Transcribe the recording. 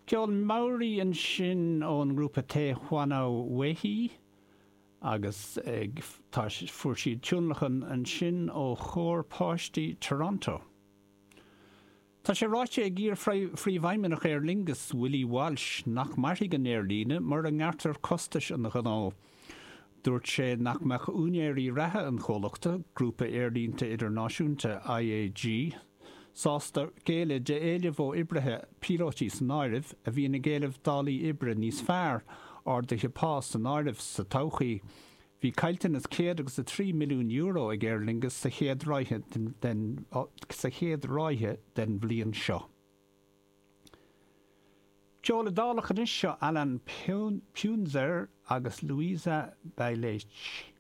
Ceol Maori ansin ón ngrúpa Te Whanau Wehi agus ag tá fuair siad tionlacan ansin ó chór páistí Toronto. Tá sé ráite ag iar-phríomhfheidhmeannach Aer Lingus, Willie Walsh, nach mairfidh an aerlíne mura ngearrtar costais an ghnó. Dúirt sé nach mbeadh úinéirí reatha an chomhlachta, grúpa aerlínte idirnáisiúnta IAG, sásta géilleadh d'éilimh ó oibrithe, píolótaí san áireamh, a bhíonn ag éileamh dálaí oibre níos fearr, arduithe pá san áireamh, sa todhchaí. Bhí caillteanas €103 milliún ag Aer Lingus sa chéad ráithe den sa chéad ráithe den bhliain seo. Ceol Iodálach anois, seo Alain Punzer agus Luisa Bailetti.